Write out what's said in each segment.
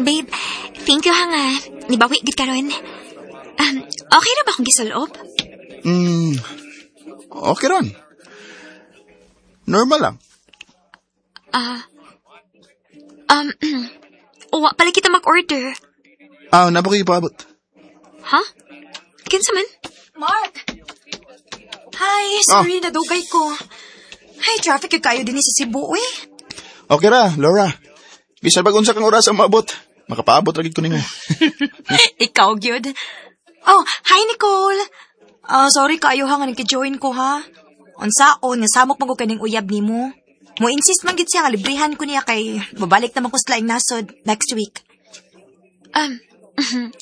Babe, thank you ha nga. Nibawi gid karon. Okay ra ba akong gisulob? Okay ron. Normal lang. Wa pala kita mag-order. Ah, na ba kayo ipaabot? Ha? Kinsa man? Mark! Hi, sorry, nadugay ko. Hi, traffic kayo din sa Cebu, eh. Okay ra, Laura. Bisan pag unsa kang oras ang maabot. Makapaabot ra gid ko nimo. Ikaw, gyud. Oh, hi, Nicole. Sorry kaayo ha nga nagki-join ko, ha? Unsaon, nga samok man ko kaning uyab nimo. Mo insist man gid siya nga librihan ko niya kay mabalik naman ko sa laing nasod next week.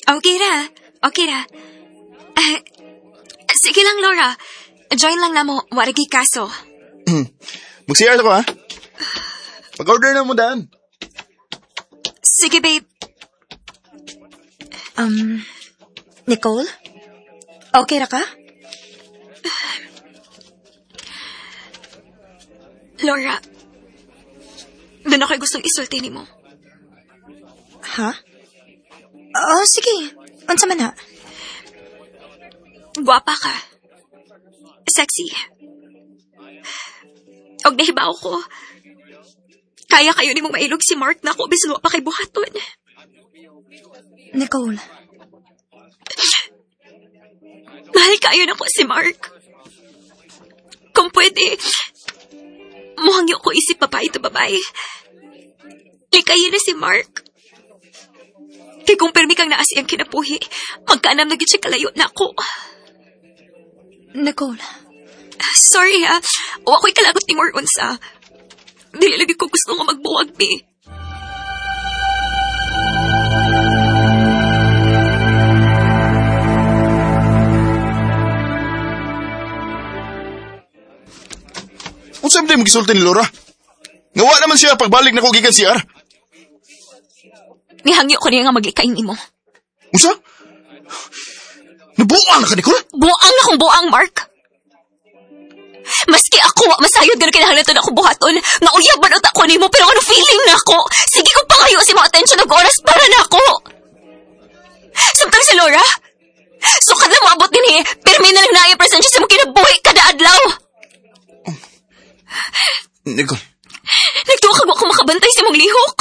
Okay ra. Okay ra. Sige lang, Laura. Join lang na mo. Waragi kaso. Mag-CR ko, ha? Pag-order na mo daan. Sige, babe. Nicole? Okay ra ka? Laura, doon ako'y gustong isulti ni mo. Ha? Oh, sige. Unsa man na? Guwapa ka. Sexy. Og nahibaw ko. Kaya kayo ni mong mailog si Mark na ako bisan wa pa kay buhaton. Nicole. Mahal kayo na ko si Mark. Kung pwede, muhangyo ko isip babae to babae. Likayin na si Mark. Kay kung permi kang naasi ang kinapuhi, magkaanam na gid siya kalayo na ako. Nicole. Sorry ha, wa ko'y kalagot ni more unsa. Dili lagi ko gusto nga magbuwag ni. Unsa man mo gisulti ni Laura? Nga wa naman siya pagbalik nako gikan CR. Nihangyo ko niya nga maglikain nimo. Unsa? Nabuang na ka, Nicole? Buang na kong buang, Mark. Maski ako, wa masayod nga kinahanglan to na akong buhaton. Nga uyab man uta ko nimo, pero ano feeling na ako? Sige ko pangayo si mga atensyon og oras para na ako. Samtang si Laura, sukad na moabot dinhi, pirmi na lang naay presensya sa imong kinabuhi kada adlaw. Nicole. Nagtuwa kag wa ko makabantay sa imong lihok.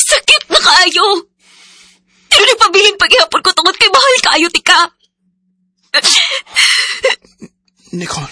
Sakit na kaayo. Pero nagpabilin paghihapon ko tungod kay mahal kaayo tika. Nicole.